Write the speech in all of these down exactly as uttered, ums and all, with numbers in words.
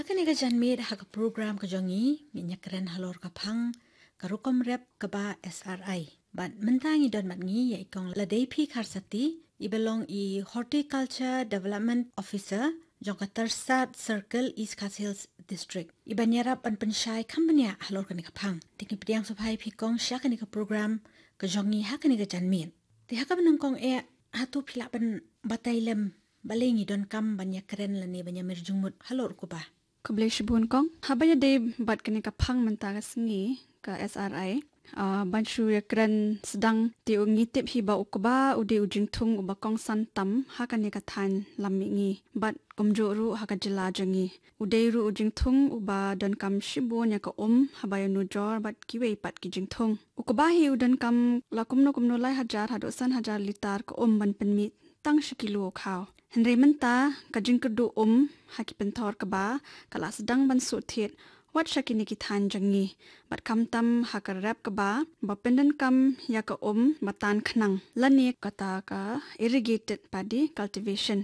Ha kane ka janmiet ha ka program ka jong ngi, ngi ïakren halor ka phang ka rukom rep kaba S R I. Bad mynta ngi don bad ngi ïa i kong Ladei P Kharsati, iba long i Horticulture Development Officer jong ka Tyrsad Circle, East Khasi Hills District, iban ïarap ban pynshai kham bniah halor kane ka phang. Te ngi pdiang sngewbha ïa phi kong sha kane ka program ka jong ngi ha kane ka janmiet. Te ha kaba nyngkong eh, hato phi lah ban batai lem balei ngi donkam ban ïakren lane ban ïamir jingmut halor u kba? Khublei shibun kong. Haba ïadei bad kane ka phang mynta ka sngi ka S R I, ah, ban shu ïakren sdang, te u ngi tip hi ba u kba u dei u jingthung uba kongsan tam ha kane ka thaiñ lam mihngi bad kumjuh ruh ha ka jylla jong ngi. U dei ruh u jingthung uba donkam shibun ïa ka um haba ïanujor bad kiwei pat ki jingthung. U kba hi u donkam la kumno kumno lai hajar haduh san hajar litar ka um ban pynmih tang shi kilo u khaw. Hynrei mynta ka jingkyrduh um ha ki pynthor kba ka la sdang ban shu thied wat sha kine ki thaiñ jong ngi. Bad khamtam ha ka rep kba ba pyndonkam ïa ka um ba tan khnang lane kata ka irrigated paddy cultivation.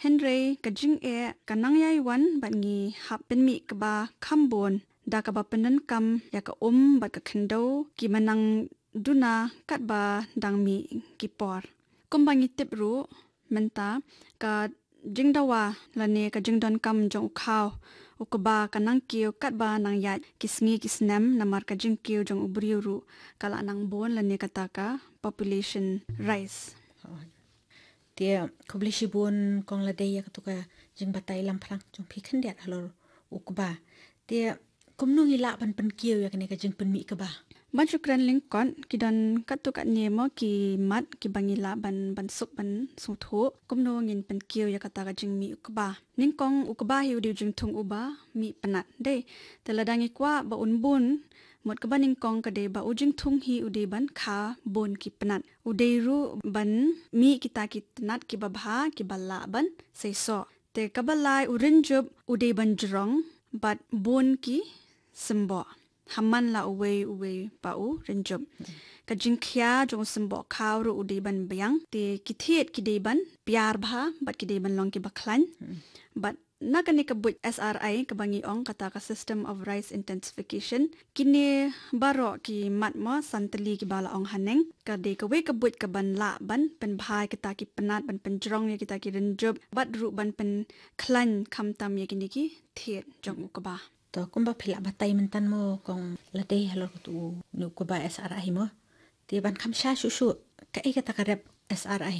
Hynrei ka jingeh ka nang ïai wan bad ngi hap pynmih kba kham bun da kaba pyndonkam ïa ka um bad ka khyndew kiba nang duna katba dang mih ki por. Kumba ngi tip ruh mynta ka jingdawa lane ka jingdonkam jong u khaw, u kba ka nang kiew katba nang ïaid ki sngi ki snem namar ka jingkiew jong u briew ruh ka la nang bun lane kata ka population rise. Te khublei shibun kong Ladei ïa katu ka jingbatai lamphrang jong phi khyndiat halor u kba. Te kumno ngi lah ban pynkiew ïa kane ka jingpynmih kba? Ban shu kren lyngkot, ki don katto katne mo ki mat kiba ngi lah ban, ban suk ban sngewthuh kumno ngin pynkiew ïa kata ka jingmih u kba. Nyngkong u kba hi u dei u jingthung uba mih pnat. Dei, te lada ngi kwah ba un bun, mut kaba nyngkong ka dei ba u jingthung hi u dei ban kha bun ki pnat. U dei ruh ban mih kita ki tnat kiba bha kiba lah ban seisoh. Te kaba lai u rynjup u dei ban jrong bad bun ki symboh ha man la uwei uwei pa u rynjup. Ka jingkhia jong u symboh khaw ruh u dei ban biang. Te ki thied ki dei ban piar bha bad ki dei ban long kiba khlaiñ. Bad na kane ka buit S R I kaba ngi ong kata ka system of rice intensification, kine baroh ki mat mo san tylli kiba la ong haneng, ka dei kawei ka buit kaban lah ban pynbha ïa kita ki pnat, ban pynjrong ïa kita ki rynjup bad ruh ban pynkhlaiñ khamtam ïa kine ki thied jong u kba. To kumba phi lah batai mynta mo kong Ladei halor katu u kba S R I mo. Te ban kham sha shuh shuh, kaei kata ka rep S R I?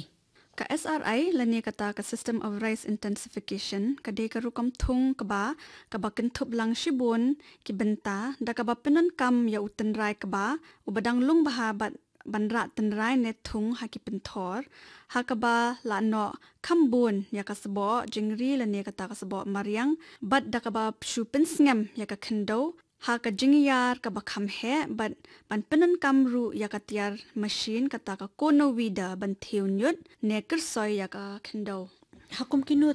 Ka S R I lane kata ka system of rice intensification ka dei ka rukom thung kba kaba kynthup lang shibun ki bynta da kaba pyndonkam ïa u tynrai kba uba dang lung bha bad ban rah tynrai ne thung ha ki pynthor, ha kaba lah noh kham bun ïa ka sboh jingri lane kata ka sboh mariang bad da kaba shu pynsngem ïa ka khyndew ha ka jingïar kaba kham heh bad ban pyndonkam ruh ïa ka tiar machine kata ka cono weeder ban thiew ñiut ne kyrsoi ïa ka khyndew. Ha kum kino